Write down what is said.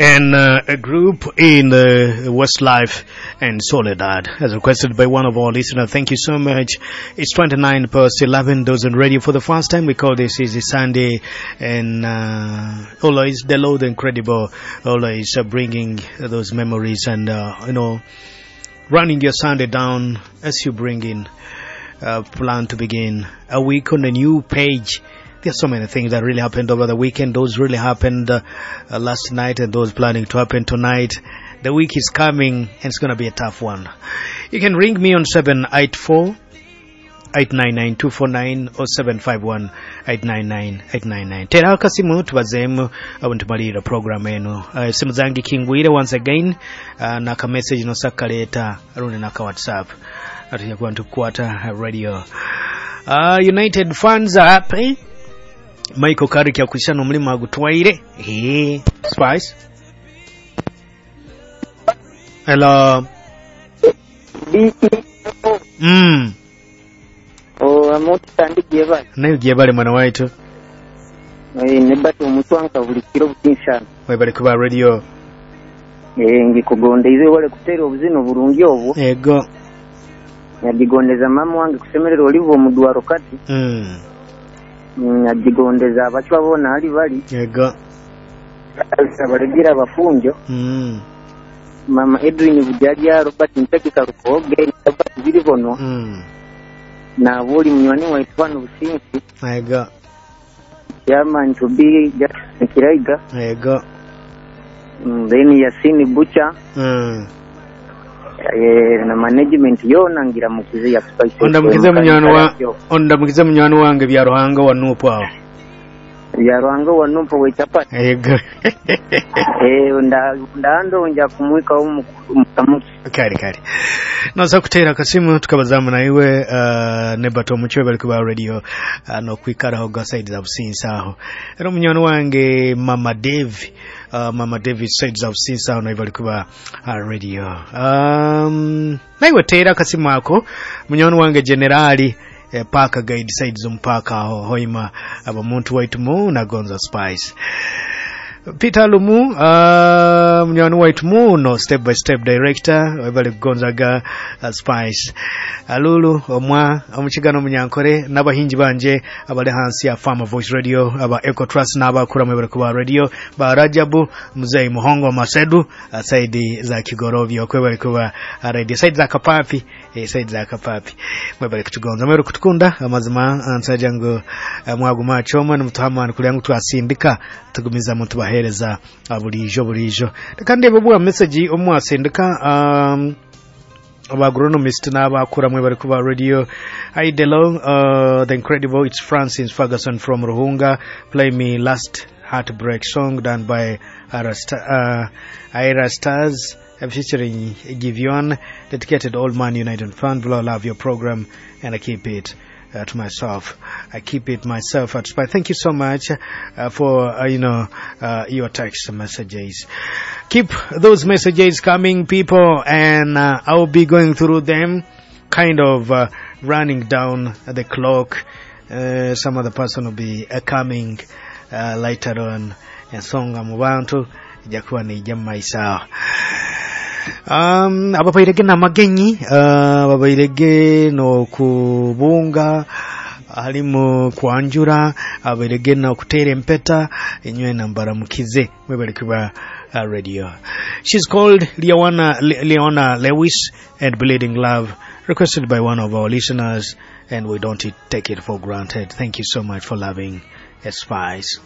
And a group in the Westlife and Soledad, as requested by one of our listeners. Thank you so much. It's 29 past 11. Those on radio for the first time, we call this is a Sunday, and always the Lord incredible, always bringing those memories and running your Sunday down as you bring in plan to begin a week on a new page. There's so many things that really happened over the weekend. Those really happened last night and those planning to happen tonight. The week is coming and it's going to be a tough one. You can ring me on 784 899 249 or 751 899 899. Tera akasimu tubazeemu abo ntumalirira program eno. Esimu zange kingwire once again, naka message nosakaleeta rundi naka WhatsApp. Atuja kuba ntukukwata radio. United fans are happy. Michael Carrick yakwishana omulimu agutwaire. Hey, Spice. Hello. Amutandikye bali. Nayo gyebale mwana waitu. Nebata omutwanka buli kiro butinshana. Webale kuba radio. Ngikugondeize wale kuteera obuzino burungi obwo. Ego. Nyagigondeza mama wange kusemerera olivo omudwaro kati. Nyagigondeza abachwa bona ali bali. Ego. Abalegira abafunjo. Mama Edwin Bujaja, Robert Mpeki Karukoge, Robert Biribono. Na buli munywani waitu wano Businsi. Ego. Chairman to be Jackson Kiraiga. Ego. Then Yasini Bucha. Na management yona ngira mukize ya Spice. Onda mukize munywani wange bya Ruhanga wa Nupu aho. Bya Ruhanga wa Nupu we chapati. Ego. Ndando nja kumwika mukamuki. Kari kari. Noza kuteera akasimu tukabazamu naiwe nebato omucwe bali kuba radio no kwikaraho ga side za Businsi aho. Era omunywani wange Mama Dave, Mama David side za Businsi aho nawe bali kuba radio. Naiwe teera akasimu ako munywani wange Generali Parker Guide side z'omupaaka aho hoima abamuntu waitu mu nagonza Spice. Peter Lumu, munywani waitu muno step by step director webale kugonzaga Spice. Alulu omwa omukigano omunyankore n'abahingi banje abali hansi ya Farmer Voice Radio aba Eco Trust n'abakura mwebale kuba radio ba Rajabu Mzee Muhongo Masedu saidi za Kigorovyo kwebale kuba radio saidi za Kapapi, saidi za Kapapi mwebale kutugonza mwebale kutukunda amazima ansaja ngo mwaguma choma n'mutuhama kulyangu twasindika tugumiza muntu bahereza bulijo bulijo. Reka ndebe bwa message omwasindika abagronomist n'abakura mwe bari kuba radio. Hi Delo, the incredible, it's Francis Ferguson from Ruhunga. Play me last heartbreak song done by Ira Stars featuring Givion, dedicated all Man United fan. Below, love your program and I keep it to myself. I keep it myself at Spy. Thank you so much for your text messages. Keep those messages coming, people, and I'll be going through them, kind of running down the clock. Some other person will be coming later on. Ensonga mu bantu ijja kuba neijja mu maiso aho. Ababairege n'amagenyi, ababairege n'okubunga halimu kwanjura, abairege n'okuteera empeta enywe nambaramukize mwebale kuba radio. She's called Leona Lewis and Bleeding Love, requested by one of our listeners, and we don't take it for granted. Thank you so much for loving Spice.